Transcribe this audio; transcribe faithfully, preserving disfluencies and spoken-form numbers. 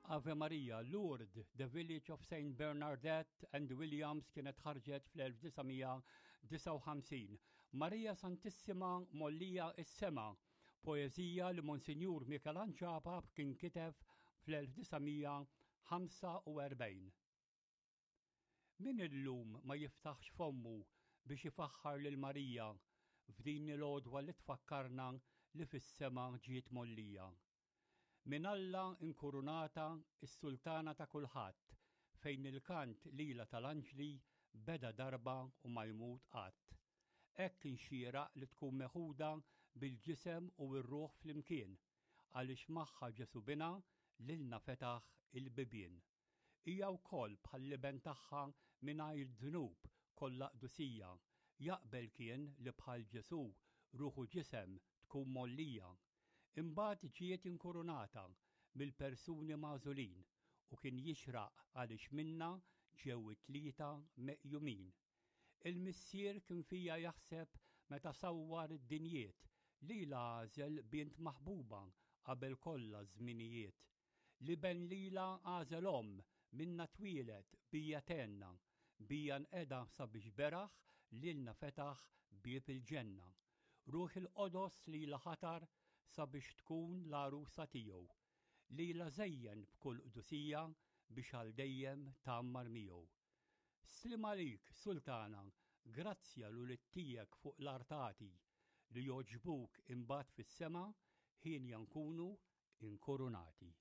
Ave Maria, Lourdes, The Village of Saint Bernadette and Williams kienet ħarġet fl-elf disa' mija disgħa u ħamsin. Maria Santissima Mgħollija s-Sema, poezija li Monsinjur Michelangelo Apap kien kiteb fl-elf disa' mija ħamsa u erbgħin. Min illum ma jiftaħx fommu biex ifaħħar lil Marija f'din il-għodwa li tfakkarna li fis-sema ġiet mgħollija? Min Alla inkurunata, is-sultana ta' kulħadd, fejn il-kant lilha tal-anġli beda darba u ma jmut qatt. Hekk kien xieraq li tkun meħuda bil-ġisem u r-ruħ flimkien, għaliex magħha Ġesu bina lilna fetaħ il-bibien. Hija wkoll bħall-iben tagħha mingħajr dnub, kollha qdusija, jaqbel kien li bħal Ġesu ruħ u ġisem tkun mgħollija. Imbagħad ġiet inkurunata mill-persuni magħżulin u kien jixraq għaliex minna ġew it-tlieta meqjumin. Il-missier kien fija jaħseb meta sawwar id-dinjiet, lilha għażel bint maħbuba qabel kollha żminijiet. L-iben lilha għażel omm, minna twieled, bija tenna, bija nqeda sabiex beraħ lilna fetaħ bieb il-ġenna. Ruħ il-Qodos lilha ħatar sabiex tkun l-għarusa tiegħu. Lilha żejjen b'kull qdusija biex għal dejjem tgħammar miegħu. Sliem għalik, Sultana, grazzja l-ulied tiegħek fuq l-art agħti, li jogħġbuk imbagħad fis-sema ħin nkunu inkurunati.